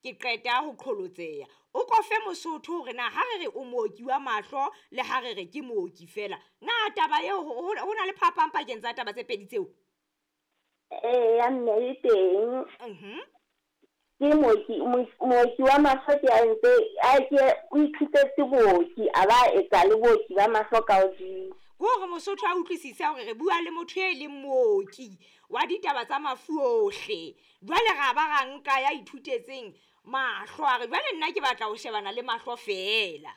Ke qeta ho qholotseha. O ko fe Mosotho hore na ha re re o mooki wa mahlo le ha re re ke mooki feela, na taba eo ho na le phapang pakeng tsa taba tse pedi tseo? Eya mme e teng. Ke mooki, mooki wa mahlo ke a ntse a ke o ithutetse booki a ba etsa le booki ba mahlo ka hodimo. Ke hore Mosotho a utlwisise hore re bua le motho e leng mooki wa ditaba tsa mafu ohle. Jwale ra ba ra nka ya ithutetseng mahlo a re jwale nna ke batla ho shebana le mahlo feela.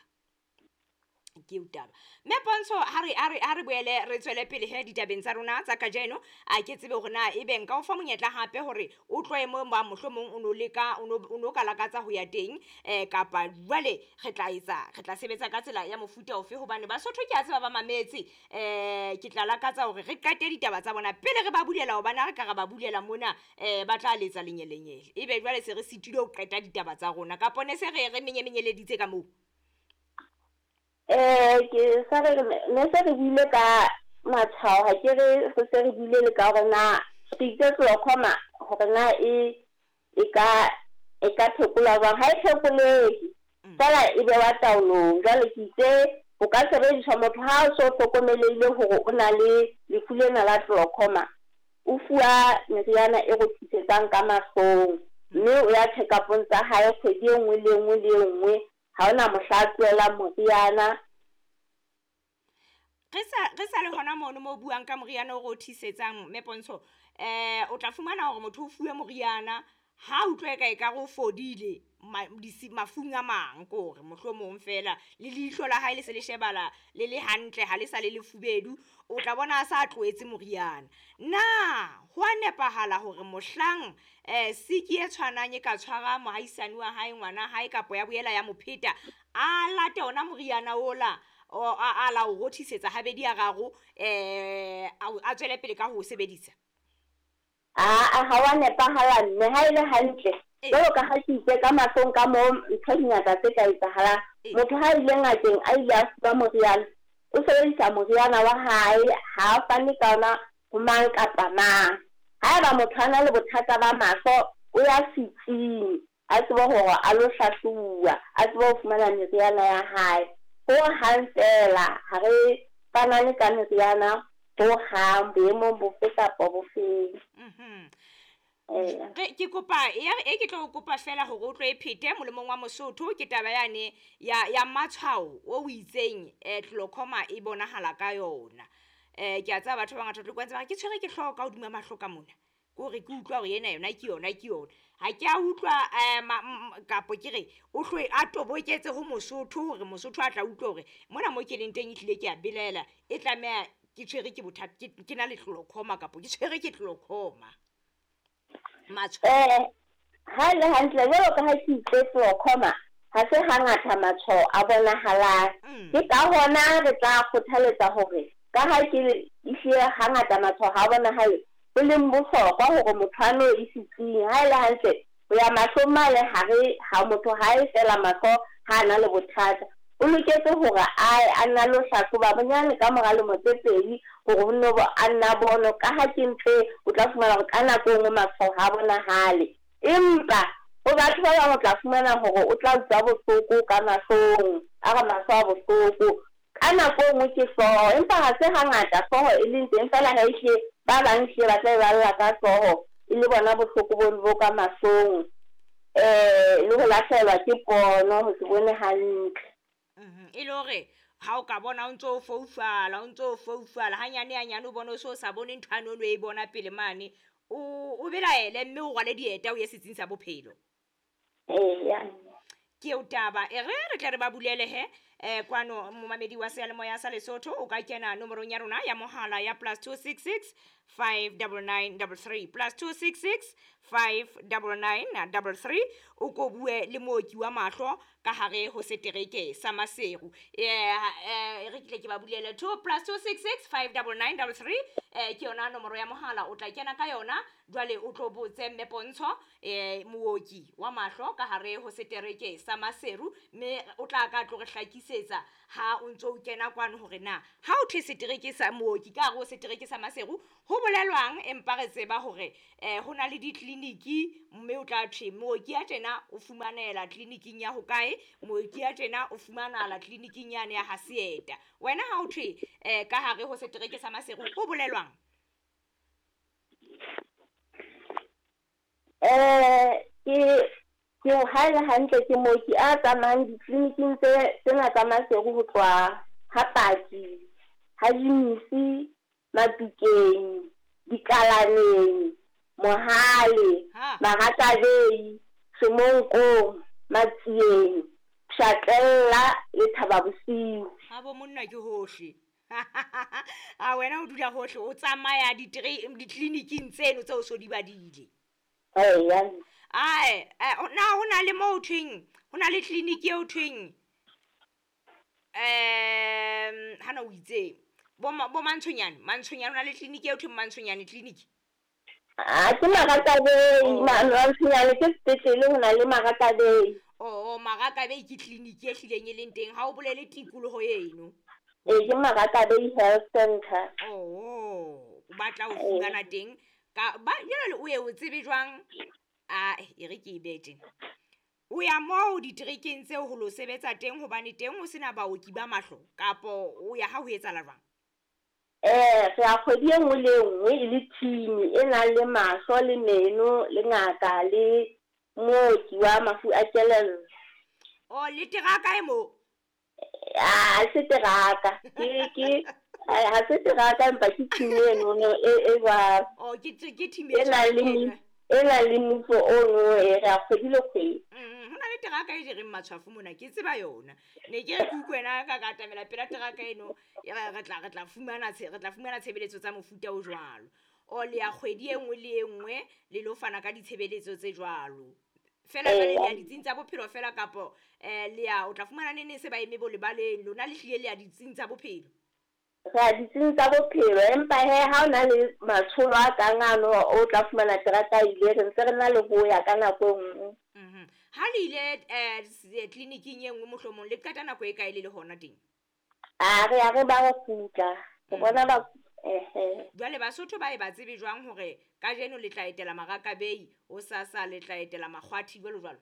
Ke eo taba. Mme Pontsho ha re ha re ha re boele re tswele pele he ditabeng tsa rona tsa kajeno. A ke tsebe hore na ebe nka o fa monyetla hape hore o tlohe mo ba mohlomong o no leka o no ka lakatsa ho ya teng, kapa jwale re tla etsa re tla sebetsa ka tsela ya mofuta ofe hobane Basotho ke a tseba ba mametse. Ke tla lakatsa hore re qete ditaba tsa bona pele re ba bulela hobane ha re ka ra ba bulela mona, ba tla letsa lenyelenyele. Ebe jwale se re sitilwe ho qeta ditaba tsa rona kapa ne se re re menyemenyeleditse ka moo. Ke sa re ne se re buile ka matshwao, ha ke re re se re buile le ka hore na re itse glaucoma hore na e e ka e ka phekolwa jwang. Ha e phekolehe feela e bewa taolong. Jwale ke itse o ka sebediswa motho ha o so hlokomelehile hore o na le lefu lena la glaucoma, o fuwa meriana e rothisetsang ka mahlong, mme o ya check-up-ong tsa hae kgwedi e nngwe le e nngwe le e nngwe. Ha hona mohla a tlohelang moriana. Re sa le hona mono mo buang ka moriana o rothisetsang mme Pontsho, o tla fumana hore motho o fuwe moriana ha utlwa eka ekare o fodile mafung a mang, ke hore mohlomong feela le leihlo la hae le se le shebala le le hantle ha le sa le lefubedu, o tla bona a sa tlohetse moriana. Na ho a nepahala hore mohlang siki e tshwanang e ka tshwara mohaisane wa hae, ngwana hae kapa ya boela ya mo pheta, a late ona moriana ola a la o rothisetsa habedi a raro, a tswele pele ka ho o sebedisa? Aa, ha wa nepahala mme ha e le hantle. Jwalo ka ha ke itse ka mahlong ka moo ntho di ngata tse ka etsahalang. Motho ha ile ngakeng a ile a fuwa moriana, o sebedisa moriana wa hae, ha a fane ka ona ho mang kapa mang. Haeba motho a na le bothata ba mahlo, o ya setsing a tsebe hore a lo hlahlobuwa, a tsebe ho fumana meriana ya hae. Ho hang feela ha re fanane ka meriana ho hang boemong bofe kapa bofeng. Re ke kopa e ke tlo kopa fela hore o tlo e phete molemong wa Mosotho ke taba yane ya matshwao o itseng glaucoma e bonahala ka yona. Ke a tseba batho ba bangata tlo kwantse ba ke tshwere ke hlooho ka hodima mahlo ka mona. Ke hore ke utlwa hore ena yona ke yona ke yona. Ha ke a utlwa kapo ke re o hloe a toboketse ho Mosotho hore Mosotho a tla utlwa hore mona mo ke leng teng ehlile ke a belaela e tlameha ke tshwere ke bothata ke na le glaucoma kapo ke tshwere ke glaucoma. Matshwao. Ha le hantle jwalo ka ha ke itse glaucoma ha se hangata matshwao a bonahalang. Ke ka hona re tla kgothaletsa hore ka ha ke ehlile hangata matshwao ha bonahale, ho leng bohlokwa hore motho a no e setsing. Ha e le hantle ho ya mahlong mane hare ha motho ha e fela mahlo ha a na le bothata, o loketse hore a nna lo hlahloba bonyane ka mora lemo tse pedi hore ho nno a nna bono, ka ha ke ntho e o tla fumana hore ka nako e nngwe matshwao ha bonahale. Empa ho batho ba bang o tla fumana hore o tla utlwa bohloko ka mahlong, a re mahlo a bohloko. Ka nako e nngwe ke hlooho, empa ha se hangata hlooho e leng teng feela ha ehlile ba bang ehlile ba tla e balla ka hlooho e le bona bohloko bono bo ka mahlong, le ho lahlehelwa ke pono, ho se bone hantle. E le hore ha o ka bona o ntso o foufala, o ntso o foufala hanyane hanyane o bone o so sa bone ntho yane o no e bona pele mane, o belaele mme o rwale dieta o ye setsing sa bophelo. Eya. Ke eo taba. E re re tle re ba bulele he, kwano momamedi wa seyalemoya sa Lesotho o ka kena nomorong ya rona ya mohala ya +266 599 33, +266 599 33, o ko bue le mooki wa mahlo ka hare ho setereke sa Maseru. Re tle ke ba bulele 2 +266 599 33, ke yona nomoro ya mohala o tla kena ka yona. Jwale o tlo botse mme Pontsho, mooki wa mahlo ka hare ho setereke sa Maseru, mme o tla ka tlo re hlakisetsa hlakisetsa ha o ntso o kena kwano hore na ha o thwe setereke sa mooki ka hare ho setereke sa Maseru ho bolelwang, empa re tseba hore ho na le ditleliniki, mme o tla thwe mooki ya tjena o fumanela tleliniking ya hokae, mooki ya tjena o fumanahala tleliniking yane ya ha Seeta. Wena ha o thwe ka hare ho setereke sa Maseru ho bolelwang? Ke ha e le hantle ke mooki a tsamayang ditleliniking tsena tsa Maseru ho tloha ha Paki, ha Jimisi, Matukeng, Dikalaneng, Mohale, Marakabei, Semonkong, Matsieng, Pshatlella le Thababosiu. Ha bo monna ke hohle. A wena o dula hohle, o tsamaya ditleliniking tseno tseo so di badile. Eya. Ae, na ho na le moo thweng, ho na le tleliniki eo thweng hana o itse bo Mantshonyane, Mantshonyane ho na le tleliniki eo thweng Mantshonyane clinic. Ah, ke Marakabei, Mantshonyane ke sepetlele, ho na le Marakabei. Oh, Marakabei ke tleliniki e hlileng e leng teng, ha o bolele tikoloho eno. Ee, ke Marakabei Health Center. Oh, o batla ho fumana teng ka ba jwale o ye o tsebe jwang? A e re ke e bete. O ya moo diterekeng tseo ho lo sebetsa teng hobane teng ho sena baoki ba mahlo, kapo o ya ha ho etsahala jwang? Re ya kgwedi e nngwe le e nngwe e le team e nang le mahlo le meno le ngaka le mooki wa mafu a kelello. Oh, le teraka e mo? Ha se teraka. Ke ha se teraka empa ke team eno e jwalo. Oh, ke team e nang le e nang le mmuso ono e re a kgwedi le kgwedi. Ho na le teraka e jereng matshwafo mona, ke tseba yona. Ne ke re ke utlwe wena ka atamela pela teraka eno, re tla fumana tshebeletso tsa mofuta o jwalo. O le ya kgwedi e nngwe le e nngwe le lo fana ka ditshebeletso tse jwalo. Fela jwale le ya ditsing tsa bophelo fela kapo le ya o tla fumana nene se ba eme bo lebaleng, lona le hlile le ya ditsing tsa bophelo. Re ya ditsing tsa bophelo, empa he ha o na le matsholo a kang ano o tla fumana terata ile, re ntse re na le ho ya ka nako e nngwe. Ha le ile tleliniking e nngwe mohlomong le qeta nako e kae le le hona teng? A re ya re ba re kgutla, re bona ba Jwale Basotho ba e ba tsebe jwang hore kajeno le tla etela Marakabei, hosasa le tla etela Makgwathi jwalo jwalo?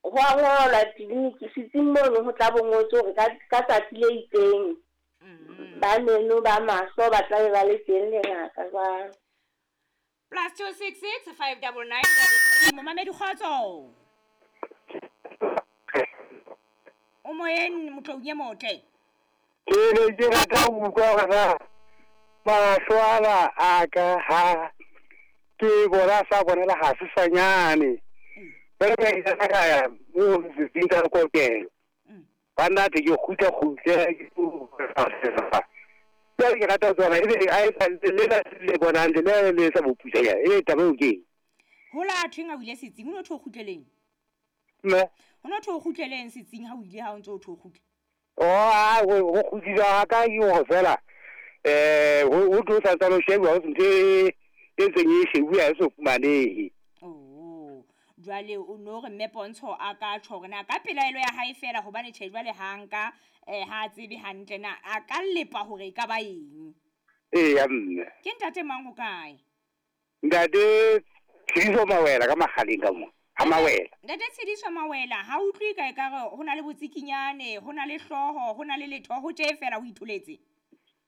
Ho a ngolwa tleliniki setsing mono, ho tla bo ngotswe hore ka tsatsi le itseng ba meno ba mahlo ba tla be ba le teng le ngaka jwalo. +266 599 Momamedi kgotso. O moyeng motloung e motle. Ke ne ke rata ho utlwa hore na mahlo ana a ka ha ke bona sa bonela ha sesanyane. Jwale ka ile ka ya mo setsing sa kokelo. Banna te ke kgutla ke jwale ke rata ho tseba ebe a etsa le bonang le le sa boputsa e taba eo ke eng? Hola thweng ha o ile setsing, ho no thwe o kgutleleng? Mme? Ho no thwe o kgutleleng setsing ha o ile ha o ntso o thwe o kgutle? Oh, ho kgutlisa ha ka ke hore fela ho tlo santsane ho shebuwa ho se ntho e ntseng e shebuwa ha e so fumanehe. Oh, jwale o no re mme Pontsho a ka tjho hore na ka pelaelo ya hae fela hobane tjhe jwale ha nka ha tsebe hantle na a ka lepa hore e ka ba eng. Eya mme. Ke ntate mang ho kae? Ntate Tshidiso Mawela ka Makgaleng ka mo. Ha Mawela. Ntate Tshidiso Mawela ha utlwe ka ekare ho na le botsikinyane, ho na le hlooho, ho na le letho, ho tje fela o itholetse.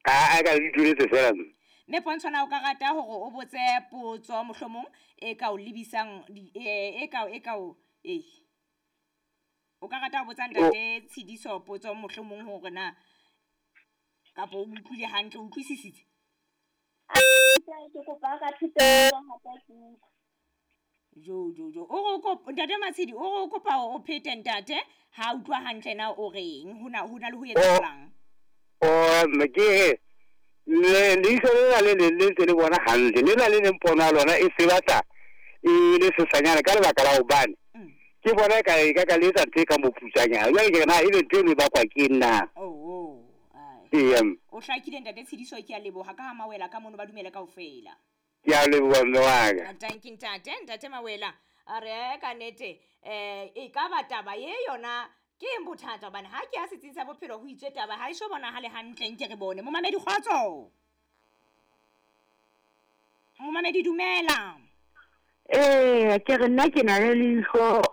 A ka itholetse fela mme. Mme Pontsho na o ka rata hore o botse potso mohlomong e ka o lebisang e ka o o ka rata ho botsa ntate Tshidiso potso mohlomong hore na kapa o utlwile hantle, o utlwisisitse? Ke kopa ka thupelo hape ke utlwe. Jo o re ntate Matshidi o re o kopa o phete ntate ha utlwa hantle na o reng ho na le ho etsahalang. O mme ke le leihlo lena le leng le ntse le bona hantle, lena le leng pono ya lona e se batla e le sesanyane ka lebaka la hobane ke bona e ka le etsa ntho e ka moputsanyana. Jwale ke re na ebe ntho eno e bakwa ke eng na? Eya. O hlakile ntate Tshidiso, ke a leboha ka ha Mawela ka mono ba dumele kaofela. Ke a leboha mme wa ka. Tanki ntate, ntate Mawela a re ka nnete e ka ba taba ye yona Ke eng bothata? Hobane ha ke ya setsing sa bophelo ho itswe taba ha e so bonahale hantle, nke re bone. Momamedi, kgotso. Momamedi, dumela. Ee, ke re nna ke na le leihlo.